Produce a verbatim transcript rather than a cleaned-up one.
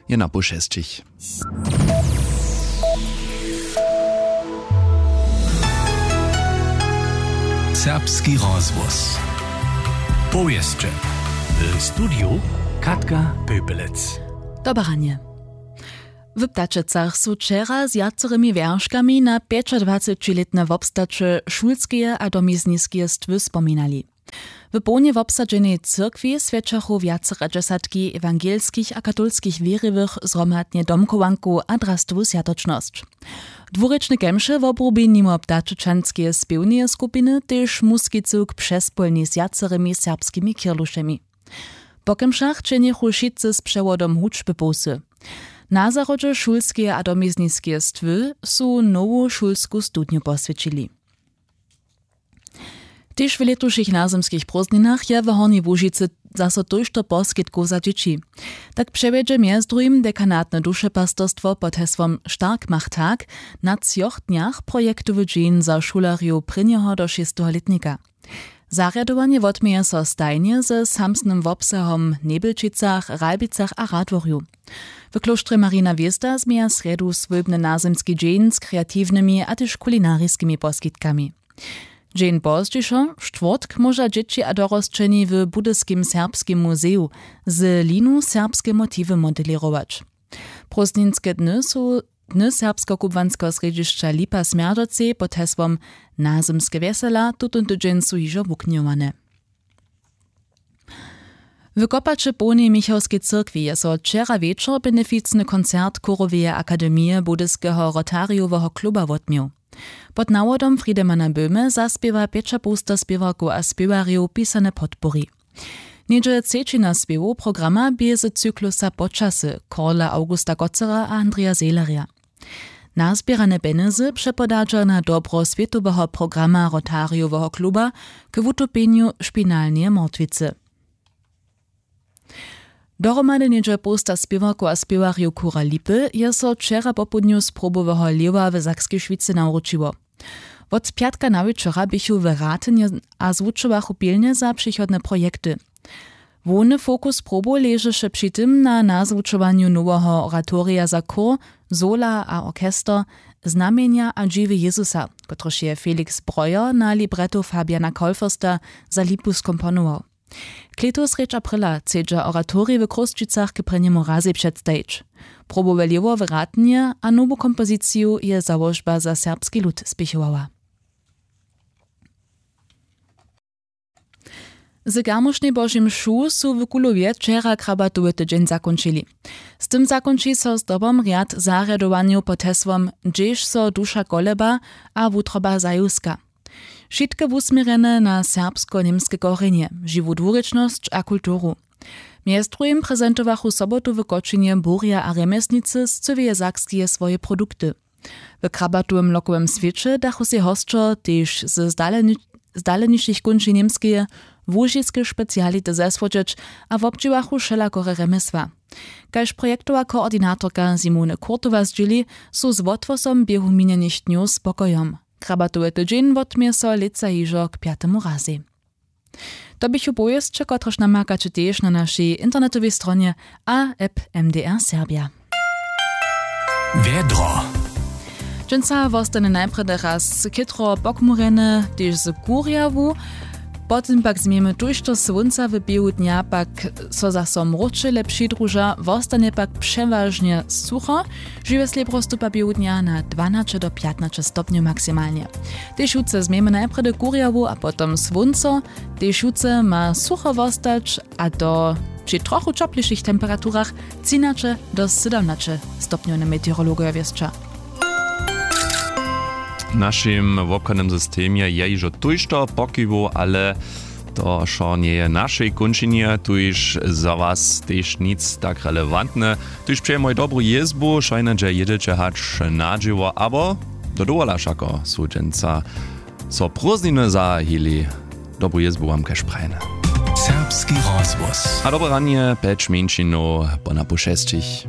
Je na poł šesćich. Serbski rozhłos. Powěsće. W studiju Katka Pöpelec. Dobre ranje. W Ptačecach su wčera z wjacorymi wjerškami na pjećadwacećilětne wobstaće šulskeje a domizniskeje stwy spominali. W połnje wobsadźenej cyrkwi swjećachu wjaceradźesatki ewangelskich a katolskich wěriwych zhromadnje domchowankow a drastowu swjatočnosć. Dwurěčne kemše wobrubi nimo ptačečanskeje spěwneje skupiny tež muskicy k přespólnej z wjacerymi serbskimi kirlušemi. Po kemšach činjechu wšitcy z přewodom hudźby połsy. Na zahrodźe šulskeje a domizniskeje stwy su nowu šulsku studnju poswjećili. Tež w lětušich nazymskich prózdninach je w Hornjej Łužicy zaso tójšto poskitkow za dźěći. Tak přewjedźe mjez druhim dekanatne dušepastorstwo pod hesłom Stark macht tak na třoch dnjach projektowy dźeń za šulerjow prěnjeho do šesteho lětnika. Zarjadowanje wotměje so stajnje ze samsnym wobsahom w Njebjelčicach, Ralbicach a Radworju. W klóštrje Marina Wězda změja srjedu swójbny nazymski dźeń z kreatiwnymi a tež kulinariskimi poskitkami. Dźeń pozdźišo, štwórtk, móža dźěći a dorosćeni w Budyskim serbskim muzeju z linu serbske motiwy modelěrować. Prózdninske dny su Dny serbskokubłanskeho srjedźišća Lipa Smjerdźocej pod hesłom Nazymske wjesela tutón tydźeń su hižo wuknjowane. W Kopače połnej Michałskej cyrkwi je so wčera wječor beneficny koncert Chóroweje akademije Budyskeho Rotarijoweho kluba wotměł. Pod nawodom Friedemana Böhme zaspěwa pjećapołsta spěwarkow a spěwarjow pisane podpori. Něhdźe třećina spěwow programa bě z cyklusa Počasy Karla Augusta Gotzera a Andreja Sehlerja. Nazběrane pjenjezy přepodadźa na dobro swětoweho programa Rotarijoweho kluba k wutupjenju špinalneje mortwicy. Dohromady něhdźe połsta spěwarkow a spěwarjow chóra Lipy je so wčera popołdnju z proboweho Lěwa w Sakskej Šwicy nawróčiło. Wot pjatka nawječora běchu w Ratynje a zwučowachu pilnje za přichodne projekty. Hłowny fokus probow ležeše při tym na nazwučowanju noweho oratorija za chór, sola a orchester Znamjenja a dźiwy Jezusa, kotryž je Felix Breuer na libretto Fabiana Kolfürsta za Lipu skomponował. Klětu srjedź apryla chcedźa oratorij w Chrósćicach k prěnjemu razej předstajić. Probowe Lěhwo w Ratnje a nowu kompoziciju Je załožba za serbski lud spěchowała. Z karmušnjej Božej mšu su w Kulowje wčera krabatowy tydźeń zakónčili. Z tym zakónči so zdobom rjad zarjadowanjow pod hesłom Hdźež so duša koleba a wutroba zajuska. Wšitke wusměrjene na serbsko-němske korjenje, žiwu dwurěčnosć a kulturu. Mjez druhim prezentowachu sobotu w Kočinje burja a rjemjesnicy z cyłeje Sakskeje swoje produkty. W krabatowym lokowym swěće dachu sej hosćo tež z zdaleni-, zdalenišich kónčin Němskeje łužiske speciality zesłodźeć a wobdźěłachu wšelakore rjemjesła. Kaž projektowa koordinatorka Simone Kurtowa zdźěli, su z wothłosom běhu minjenych dnjow spokojom. Krabatowy tydźeń wotměje so lětsa hižo k pjatemu razej. To běchu powěsće, kotrež namakaće tež na našej internetowej stronje a app M D R Serbja. Wjedro. Dźensa wostanje najprjedy raz chětro pochmurjene, tež z kurjawu. Potom pak změjemy tójšto słónca, w běhu dnja pak so zaso mróčele přidruža, wostanje pak přewažnje sucho. Žiwje slěbro stupa běhu dnja na dwanaće do pjatnaće stopnjow maksimalnje. Tež jutře změjemy najprjedy kurjawu a potom słónco. Tež jutře ma sucho wostać, a to při trochu ćoplejšich temperaturach třinaće do sydomnaće stopnjow, na meteorologojo wěsća. W našim wobchodnym systemje je hižo tójšto pokiwow, ale to wšo njeje w našej kónčinje, tuž za was tež nic tak relevantne. Tuž přejemoj dobru jězbu, wšojnje hdźe jědźeće hač na dźěło abo do dowola, wšako su dźensa so prózdniny zahajili. Dobru jězbu wam kaž prajene. Serbski rozhłos. A dobre ranje, pjeć mjeńšinow po napoł šesćich.